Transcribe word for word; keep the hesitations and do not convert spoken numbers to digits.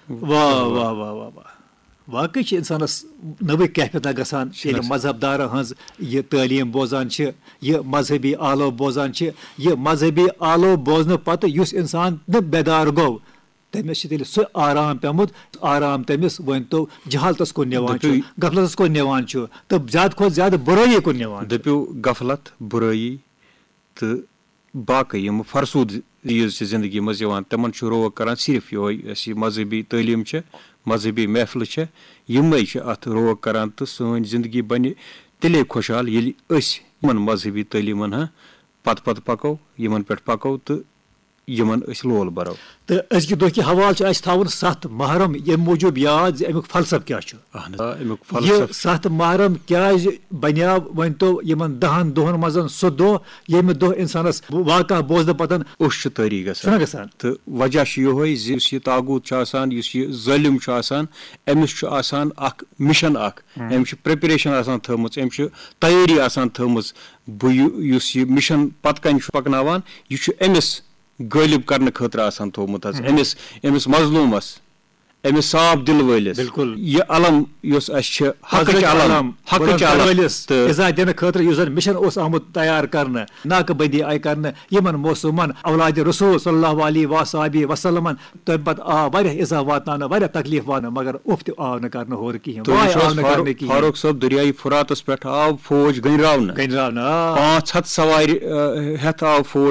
واہ واہ واہ واہ واہ واقعی چھِ اِنسانَس نٔوٕے کیفیت اَکھ گژھان ییٚلہِ مذہب دارَن ہٕنٛز یہِ تعلیٖم بوزان چھِ، یہِ مذہبی آلو بوزان چھِ، یہِ مذہبی آلو بوزنہٕ پَتہٕ یُس اِنسان نہٕ بیدار گوٚو، تٔمِس چھِ تیٚلہِ سُہ آرام پیوٚمُت، آرام تٔمِس ؤنۍ تو جہالتَس کُن نِوان چھُ، غفلتَس کُن نِوان چھُ، تہٕ زیادٕ کھۄتہٕ زیادٕ بُرٲیی کُن نِوان چھُ۔ دٔپِو، غفلت، بُرٲیی تہٕ باقٕے یِم فرسوٗد چیٖز چھِ زندگی منٛز یِوان، تِمن چھُ روک کران صرف یِہوٚے، یۄس یہِ مذہبی تعلیٖم چھےٚ، مذہبی محفلہٕ چھےٚ، یِمے چھِ اتھ روک کران تہٕ سٲنۍ زندگی بنہِ تیٚلے خۄشحال، ییٚلہِ أسۍ یِمن مذہبی تعلیٖمن ہا پتہٕ پتہٕ پکو، یِمن پٮ۪ٹھ پکو تہٕ یِمن أسۍ لول برو۔ تہٕ أزکہِ دۄہ کہِ حوالہٕ چھُ اَسہِ تھاوُن ستھ محرم ییٚمہِ موٗجوٗب یاد زِ اَمیُک فلسفہٕ کیٛاہ چھُ۔ اہن حظ، آ، اَمیُک یہِ فلسفہٕ۔ ستھ محرم کیٛازِ بنیو؟ ؤنۍ تو یِمن دَہن دۄہن منٛز سُہ دۄہ ییٚمہِ دۄہ اِنسانس واقعہ بوزنہٕ پتہٕ اوٚش چھُ طٲری گژھان۔ چھُنہ گژھان؟ تہٕ وجہ چھُ یِہوٚے زِ یُس یہِ طاغوٗت چھُ آسان، یُس یہِ ظٲلِم چھُ آسان، أمِس چھُ آسان اکھ مِشن اکھ، أمِس چھِ پریپریشن آسان تھٲومٕژ، أمِس چھِ تیٲری آسان تھٲومٕژ۔ بہٕ یُ-، یُس یہِ مِشن پتہٕ کنہِ چھُ پکناوان، یہِ چھُ أمِس غٲلب کرنہٕ خٲطرٕ آسان تھوٚومُت حظ، أمِس، أمِس مظلوٗمس، أمِس صاف دِل وٲلِس۔ بِلکُل۔ یہِ علم یۄس اَسہِ چھِ، حقٕچ حضرت علم، علم، حقٕچ بُلند علم۔ وٲلِس تہٕ عزا دِنہٕ خٲطرٕ یُس زن مِشن اوس آمُت تیار کرنہٕ، ناکہٕ بندی آیہِ کرنہٕ، یِمن معصوٗمن اولادِ رسول صلی اللہ علیہ و صحبہ وسلمن، تَمہِ پتہٕ آو واریاہ عزا واتناونہٕ، واریاہ تکلیف واتنہٕ، مگر اُف تہِ آو نہٕ کرنہٕ ہورٕ کِہیٖنۍ، تُہۍ وٲے وٕچھِو آو حظ نہٕ فاروق، کرنہٕ کِہیٖنۍ۔ فاروق صٲب، دریایہِ فراتس پٮ۪ٹھ آو فوج گٔنٛڈراونہٕ۔ گٔنٛڈراونہٕ، آ۔ پانٛژھ ہتھ سوارِ، آ، ہٮ۪تھ آو فوج۔